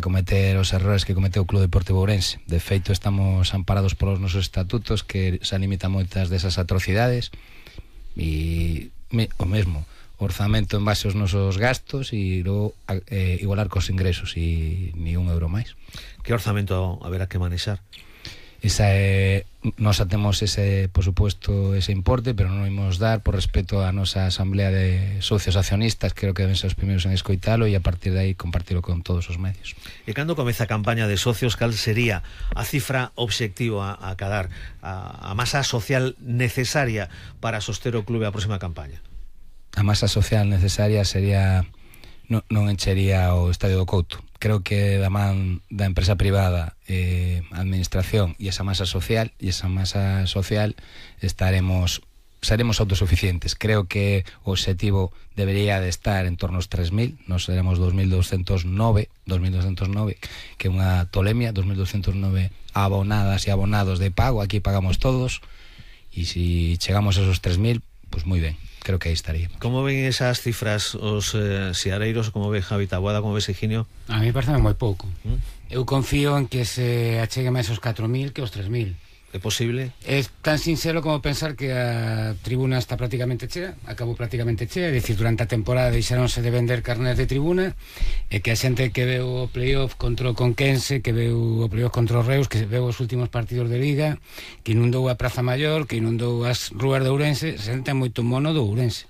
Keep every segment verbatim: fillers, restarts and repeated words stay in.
cometer os errores que cometeu o Club Deportivo Ourense. De feito, estamos amparados polos nosos estatutos que se limitan moitas desas atrocidades e me, o mesmo orzamento en base aos nosos gastos e logo eh, igualar cos ingresos e ni un euro máis. Que orzamento haberá que manexar? Esa é, nos atemos ese, por supuesto, ese importe, pero non imos dar por respeto a nosa asamblea de socios accionistas. Creo que deben ser os primeiros en escoitalo e a partir de aí compartilo con todos os medios. E cando comeza a campaña de socios, cal sería a cifra obxectivo a, a cadar, a, a masa social necesaria para soster o clube a próxima campaña? A masa social necesaria sería, non, non enchería o Estadio do Couto. Creo que da man da empresa privada, eh, administración e esa masa social e esa masa social estaremos seremos autosuficientes. Creo que o objetivo debería de estar en torno aos tres mil, nos seremos dos mil doscientos nove, que é unha tolemia, dos mil doscientos nove abonadas e abonados de pago, aquí pagamos todos, e se si chegamos a esos tres mil, pues moi ben. Creo que aí estaría. Como ven esas cifras os eh, seareiros? Como ve Javi Taboada? Como ves Higinio? A mí parece moi pouco. ¿Mm? Eu confío en que se achegue máis aos catro mil que aos tres mil. É posible? É tan sincero como pensar que a tribuna está prácticamente chea, acabou prácticamente chea, é dicir, durante a temporada deixaronse de vender carnés de tribuna, e que a xente que veu o playoff contra o Conquense, que veu o playoff contra o Reus, que veu os últimos partidos de Liga, que inundou a Praza Maior, que inundou as rúas de Ourense, se sente moito mono do Ourense.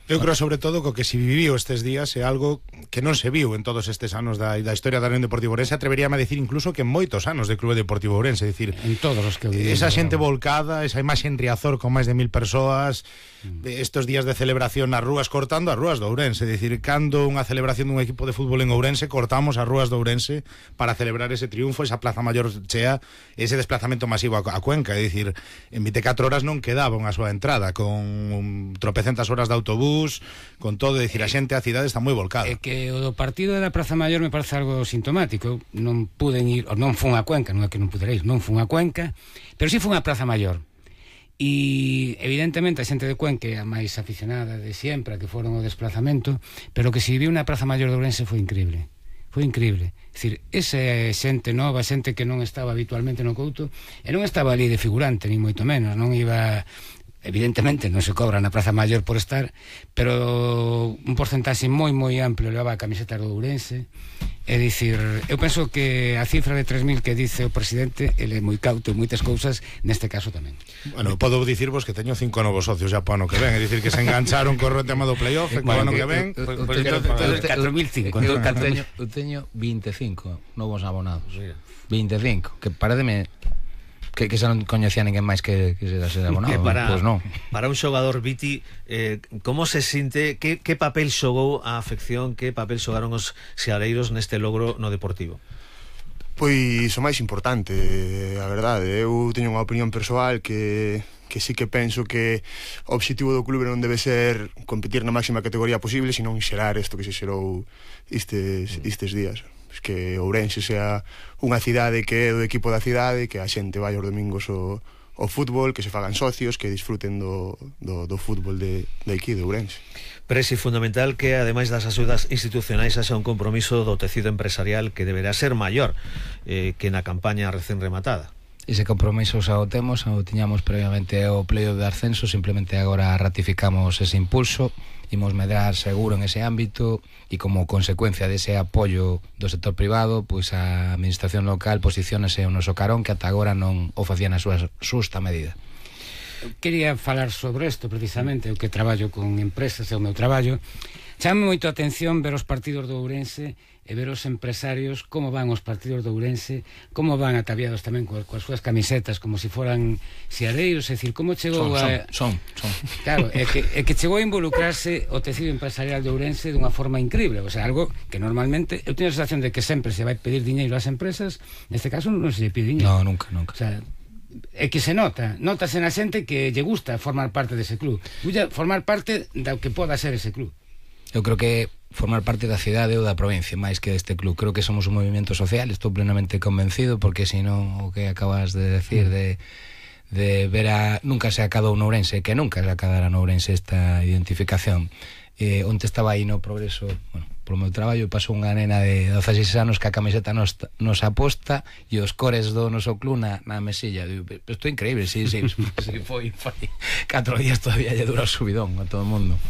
Eu creo sobre todo que o que se viviu estes días é algo que non se viu en todos estes anos da, da historia da Unión Deportiva Ourense. Atreveríame a decir incluso que en moitos anos de Clube Deportivo Ourense, é dicir, en todos os que viviu, esa xente volcada, esa imaxe en Riazor con máis de mil persoas, mm. estos días de celebración nas rúas, cortando as rúas de Ourense, é dicir, cando unha celebración dun equipo de fútbol en Ourense, cortamos as rúas de Ourense para celebrar ese triunfo, esa Plaza Maior chea, ese desplazamento masivo a, a Cuenca, é dicir, en veinticuatro horas non quedaba unha súa entrada, con um, tropecentas horas de autobús, con todo, é dicir, a xente, a cidade está moi volcada. É que o do partido da Praza Maior me parece algo sintomático. Non puden ir, ou non fun a Cuenca, non é que non pudereis, non fun a Cuenca, pero si fun a Praza Maior. E evidentemente a xente de Cuenca é a máis aficionada de sempre, a que foron o desplazamento, pero o que se viviu na Praza Maior de Ourense foi increíble. Foi increíble. É dicir, esa xente nova, xente que non estaba habitualmente no Couto, e non estaba ali de figurante, ni moito menos, non iba... Evidentemente non se cobra na Praza Maior por estar, pero un porcentaxe moi moi amplio levaba a camiseta do Ourense. É dicir, eu penso que a cifra de tres mil que dice o presidente, ele é moi cauto en moitas cousas, neste caso tamén. Bueno, podo dicirvos que teño cinco novos socios já para ano que ven, é dicir, que se engancharon co tema do playoff, e para ano que ven catro mil cinco. Eu teño vinte e cinco novos abonados, vinte e cinco, que parademe que, que xa non coñecía ninguén máis que, que se ser abonado. Que para, pues no. Para un xogador, Viti, eh, como se sinte, que, que papel xogou a afección, que papel xogaron os seareiros neste logro no Deportivo? Pois o máis importante, a verdade. Eu teño unha opinión persoal que que sí que penso que o obxectivo do clube non debe ser competir na máxima categoría posible, sino xerar isto que se xerou estes, estes días. Que Ourense sea unha cidade que é do equipo da cidade, que a xente vai os domingos ao, ao fútbol, que se fagan socios, que disfruten do, do, do fútbol de, de aquí, de Ourense. Presi, fundamental que, ademais das axudas institucionais, haxa un compromiso do tecido empresarial que deberá ser maior eh, que na campaña recén rematada. Ese compromiso xa o temos, o tiñamos previamente ao pleio de ascenso, simplemente agora ratificamos ese impulso, imos medrar seguro en ese ámbito e como consecuencia dese apoio do sector privado, pois a administración local posiciónase o noso carón que ata agora non o facía na súa xusta medida. Quería falar sobre isto precisamente, eu que traballo con empresas, é o meu traballo. Chame moito a atención ver os partidos do Ourense e ver os empresarios como van os partidos do Ourense, como van ataviados tamén coas, coas súas camisetas como se si foran seareiros, é dicir, como chegou son, a... Son, son, son. Claro, é que, é que chegou a involucrarse o tecido empresarial de Ourense dunha forma increíble, o sea, algo que normalmente, eu teño a sensación de que sempre se vai pedir diñeiro ás empresas, neste caso non se lle pide diñeiro. No, nunca, nunca. O sea, é que se nota, notase na xente que lle gusta formar parte dese club, formar parte do que poda ser ese club. Eu creo que formar parte da cidade ou da provincia máis que deste club, creo que somos un movimento social, estou plenamente convencido, porque senón o que acabas de decir de, de ver a, nunca se acadou no Ourense, que nunca se acadara no Ourense esta identificación, eh, onde estaba aí no progreso, bueno, polo meu traballo, pasou unha nena de dezaseis anos que a camiseta nos, nos aposta e os cores do noso club na, na mesilla. Digo, isto é increíble, sí, sí, sí, foi, foi catro días todavía lle dura o subidón a todo o mundo.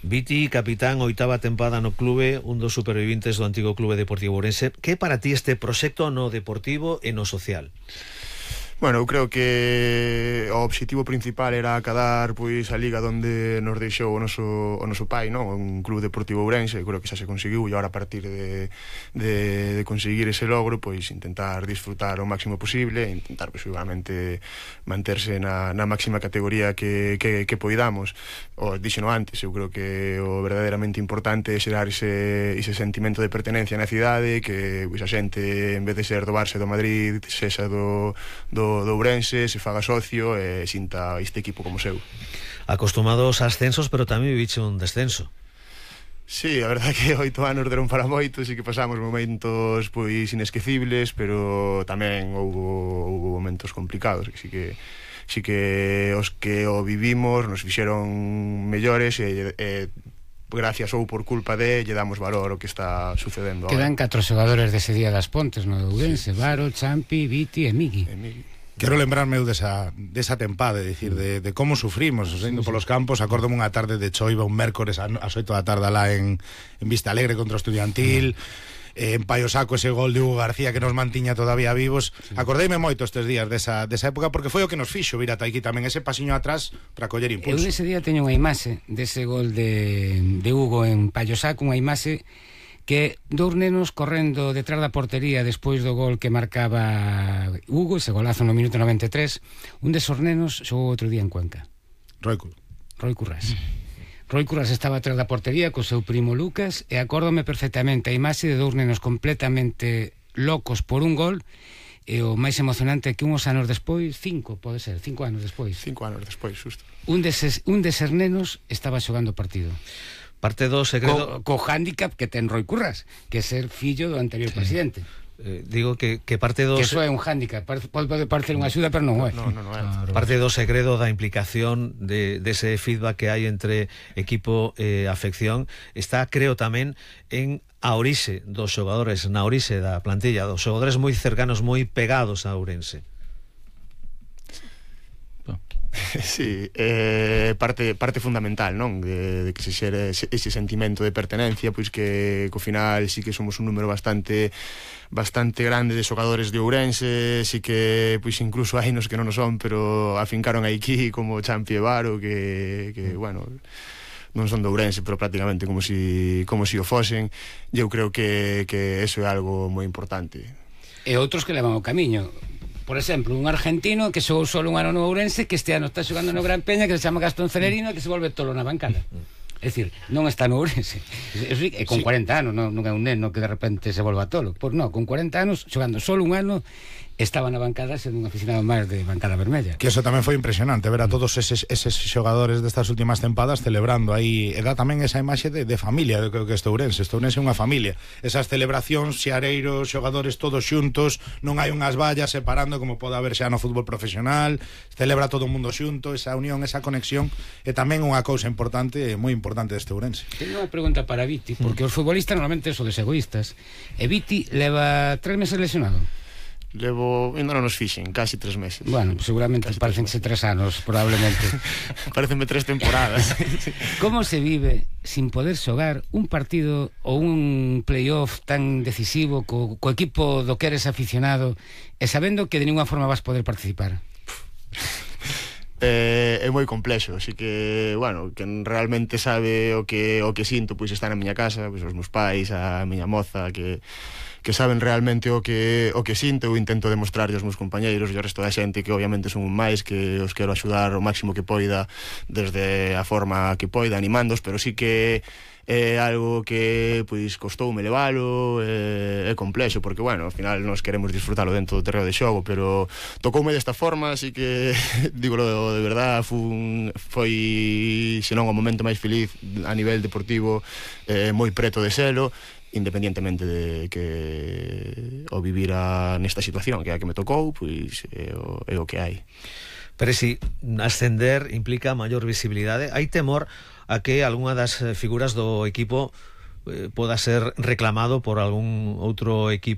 Viti, capitán, oitava tempada no clube, un dos supervivintes do antigo Clube Deportivo Ourense. Que para ti este proxecto no deportivo e no social? Bueno, eu creo que o obxectivo principal era acadar pois a liga onde nos deixou o noso, o noso pai, non? Un Club Deportivo Ourense, creo que xa se conseguiu, e agora a partir de, de, de conseguir ese logro, pois intentar disfrutar o máximo posible, e intentar pois seguramente manterse na, na máxima categoría que, que, que poidamos. O dixeno antes, eu creo que o verdadeiramente importante é xerar ese, ese sentimento de pertenencia na cidade, que pois a xente, en vez de ser do Barça do Madrid, sexa do, do do Ourense, se faga socio e sinta este equipo como seu. Acostumados a ascensos, pero tamén viviche un descenso. Sí, a verdade que oito anos deron para moitos e que pasamos momentos pois inesquecibles, pero tamén houbo, houbo momentos complicados, que sí que sí que os que o vivimos nos fixeron mellores e, e gracias ou por culpa de lle damos valor o que está sucedendo agora. Quedan catro xogadores dese día das Pontes no Ourense, Varo, Champi, Viti e Migui. E Migui. Quero lembrarme eu desa, desa tempada, é dicir, de, de como sufrimos indo polos campos. Acórdome unha tarde de choiva un mércores ás oito da tarde lá en, en Vista Alegre contra o Estudiantil, eh, en Paio Saco ese gol de Hugo García que nos mantiña todavía vivos. Sí. Acordeime moito estes días desa, desa época, porque foi o que nos fixo vir ata aquí tamén, ese pasiño atrás para coller impulso. Eu ese día teño unha imaxe dese gol de, de Hugo en Paio Saco, unha imaxe que dous nenos correndo detrás da portería despois do gol que marcaba Hugo, ese golazo no minuto noventa e tres. Un desos nenos xogou outro día en Cuenca. Roi, Roi Currás. Roi Currás estaba atrás da portería co seu primo Lucas, e acórdome perfectamente a imaxe de dous nenos completamente locos por un gol, e o máis emocionante é que uns anos despois, cinco, pode ser, cinco anos despois, cinco anos despois, xusto, un deses, un deses nenos estaba xogando o partido. Parte do segredo... Co, co hándicap que ten Roi Currás, que é ser fillo do anterior sí. presidente. Eh, digo que, que parte do... Que eso é un hándicap, pode parecer unha axuda, pero non é. No, no, no, no, no. Parte do segredo da implicación de, de ese feedback que hai entre equipo e afección está, creo, tamén en a orixe dos xogadores, na orixe da plantilla, dos xogadores moi cercanos, moi pegados a Ourense. Sí, eh, parte, parte fundamental, non? De, de que se xere ese, ese sentimento de pertenencia, pois que co final sí que somos un número bastante bastante grande de xogadores de Ourense, sí que pois incluso hai nos que non o son, pero afincaron aquí como Champi e Varo, que, que bueno, non son de Ourense, pero prácticamente como si, como si o fosen, e eu creo que, que eso é algo moi importante. E outros que levan o camiño. Por exemplo, un argentino que xogou solo un ano no Ourense, que este ano está xogando no Gran Peña, que se chama Gastón Celerino, que se volve tolo na bancada. É dicir, non está no Ourense. Eso, e con cuarenta anos, non, non é un neno que de repente se volva tolo. Pois non, con cuarenta anos, xogando solo un ano, estaba na bancada sendo un aficionado máis de bancada vermella. Que eso tamén foi impresionante, ver a todos eses, eses xogadores destas últimas tempadas celebrando aí, e dá tamén esa imaxe de, de familia, de que, que este Ourense, este Ourense é unha familia. Esas celebracións, xeareiros, xogadores todos xuntos, non hai unhas vallas separando como pode haber xa no fútbol profesional, celebra todo o mundo xunto, esa unión, esa conexión, é tamén unha cousa importante, moi importante deste Ourense. Teño unha pregunta para Viti, porque os futbolistas normalmente son desegoístas, e Viti leva tres meses lesionado. Levo, ainda non nos fixen, casi tres meses. Bueno, pues seguramente parecense tres anos, probablemente. Parecenme tres temporadas. Como se vive sin poder xogar un partido ou un playoff tan decisivo co, co equipo do que eres aficionado e sabendo que de ninguna forma vas poder participar? Eh, é moi complexo, así que, bueno, quen realmente sabe o que o que sinto, pois está na miña casa, pois os meus pais, a miña moza, que que saben realmente o que o que sinto. Eu intento demostrarlle aos meus compañeiros e ao resto da xente que obviamente son un máis, que os quero axudar o máximo que poida desde a forma que poida, animándos, pero sí que é algo que pois costoume levalo, é, é complexo, porque bueno, ao final nós queremos disfrutalo dentro do terreo de xogo, pero tocoume desta forma, así que dígolo de verdad, fun, foi senón o momento máis feliz a nivel deportivo, eh, moi preto de selo, independientemente de que o vivira nesta situación que é a que me tocou, pois é o, é o que hai. Pero si ascender implica maior visibilidade, hai temor a que algunha das figuras do equipo eh, poda ser reclamado por algún outro equipo